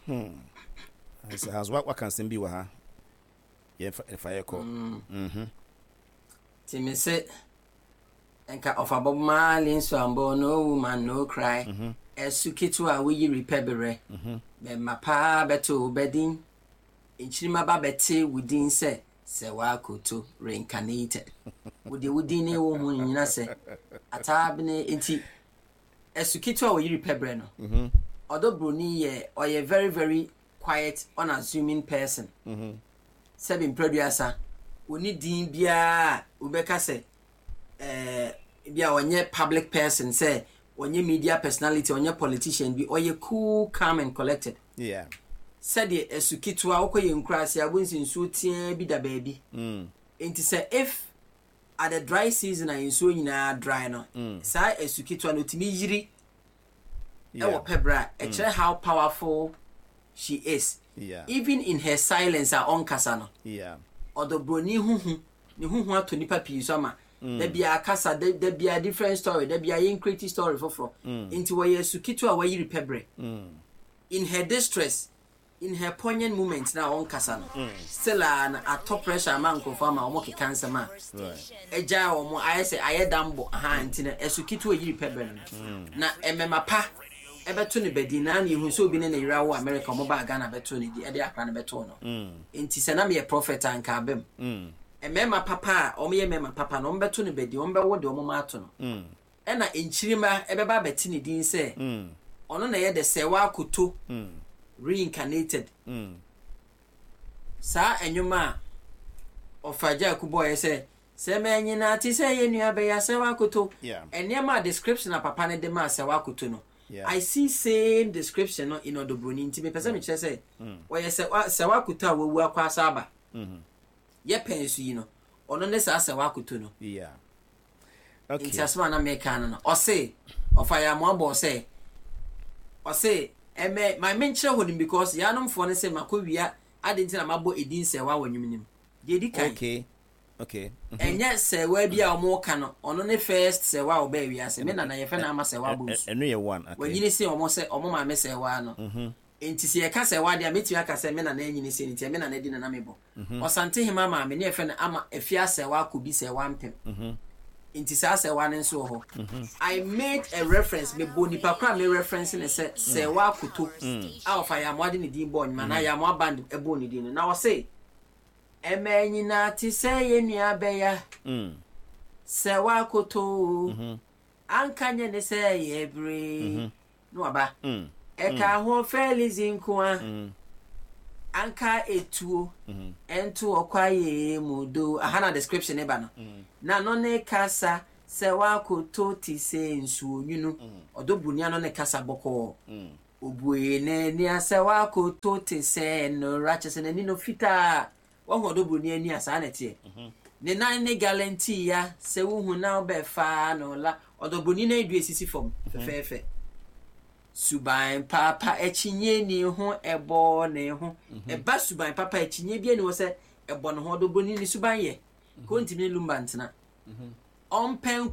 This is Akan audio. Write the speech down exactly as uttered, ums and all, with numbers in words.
Sɛ has waka nsɛm bi wɔ ha, yɛmfa yɛ kɔ. Nti me se nka ɔfa Bob Marley nso ambɔ "No Woman No Cry". Ɛsu ketewa a woyiri pɛ berɛ bɛma paa bɛto wo bɛdin, nkyirima ba bɛte wo din sɛ Serwaa Akoto reincarnated. Wode wo din ne wo ho nyina sɛ ataabene. Nti ɛsu ketewa a woyiri pɛ berɛ no, Ɔdɔ Broni yɛ, ɔyɛ very very quiet, unassuming person. Sɛbi, mprɛduasa oni din biara a wobɛka sɛ ɛɛ bi a ɔnyɛ public person, sɛ ɔnyɛ media personality, ɔnyɛ politician bi. Ɔyɛ cool, calm and collected. Yeah. Sɛdeɛ ɛsu ketewa wokɔ yɛ nkuraase a, wobɛhu sɛ nsuo teaa bi da baabi. Mm. Nti sɛ if at the dry season a nsuo nyinaa dry no, saa ɛsu ketewa no otumi yiri Yeah. ɛwɔ pɛbrɛ a ɛkyerɛ how powerful she is Yeah. even in her silence a ɔnkasa no. Yeah. Ɔdɔ Broni huhu ne huhu atɔ nipa pii so ama da bia kasa da, da bia different story, da bia yɛn create story foforɔ. Nti wɔyɛ su ketewa a wɔayiri pɛbrɛ. In her distress, in her poignant moment na ɔnkasa no, still a na atɔ pressure ama nkurɔfoɔ ama wɔn keka nsɛm a Right. ɛgya wɔn ayɛ sɛ ayɛ dambɔ aha. Nti no ɛsu ketewa yiri pɛbrɛ no na ɛmɛma pa ɛbɛto ne bɛdi na na ihu sɛ obi ne ne yere awo America, ɔmo baa Ghana bɛto ne di, ɛde akora ne bɛto no. Nti sɛ na meyɛ prophet a, nka abɛm mmarima papa a ɔmo yɛ mmarima papa no, ɔmo bɛto no bɛdi, ɔmo bɛwo deɛ ɔmo ma ato no, ɛna nkyirima ɛbɛba abɛte ne din sɛ ɔno na ɛyɛ de Serwaa Akoto reincarnated. Saa ɛnwom a ɔfa gya akubɔɔyɛ sɛ sɛ mɛnyina te sɛ yɛ nua bɛyɛ Serwaa Akoto. Yeah. Ɛnneɛma a description a papa no de maa Serwaa Akoto no, Yeah. I see same description no in Ɔdɔ Broni. Nti mepɛ sɛ mekyerɛ sɛ ɔyɛ sɛ Serwaa Akoto a wawu akɔ asa aba yɛ pɛn so yi no, ɔno ne saa Serwaa Akoto no. Yeah. Okay. Nti asɛm a na meka no no ɔse ɔfa yɛ amoabɔ sɛ ɔse ɛmɛ ma menkyerɛ hɔ nim because yɛanomfoɔ no sɛ makɔ wia ade nti na mabɔ ɛdin Serwaa wɔ nwom nim deɛ ɛdi kan. Okay. Okay. Mhm. Ɛnyɛ Serwaa bi a ɔmo ka no, ɔno ne first Serwaa a ɔbaa wiase. Me nana yɛfɛ no Ama Serwaa Bonsu. Ɛno yɛ one. Okay. Wanyini se ɔmo sɛ ɔmo maame Serwaa no. Nti sɛ yɛka Serwaa deɛ a, mɛtumi aka sɛ me nana anyini se nti me nana di nana mebɔ Ɔsante hema maame ne yɛfɛ no Ama Afia Serwaa Kobi Serwaa Mpem. Nti saa Serwaa no nso wɔ hɔ. I made a reference, mebɔ nipa koro a me reference ne sɛ Serwaa Akoto a ɔfa Yamoa de ne din bɔɔ nnwuma na Yamoa Band ɛbɔɔ ne din no, na ɔse ɛmɛ nyinaa te sɛ yɛ nua bɛya Mm. Serwaa Akoto anka nyɛ ne sɛ yɛ bere na waba Mm. ɛka ho Felix nko a anka etuo ɛnto ɔkwaye mu do aha. Na description ne ba no na no ne kasa Serwaa Akoto te sɛ nsuo nwunu. Ɔdɔ Broni ano ne kasa bɔkɔɔ, obue n'ani a, Serwaa Akoto te sɛ nnora, kyɛ sɛ n'ani no fitaa. Wahu Ɔdɔ Broni ani a, saa na ɛteɛ. Ne nan ne galantii ya sɛ wohu na wobɛfa no la. Ɔdɔ Broni nan dua esisi fam fɛfɛɛfɛ. Suban papa akyinye ni ho ɛbɔ ne ho ɛba. Suban papa akyinye bi ani wɔ sɛ ɛbɔ ne ho. Ɔdɔ Broni ne suban yɛ ko ntumi ne Lumba ntena ɔmpɛ.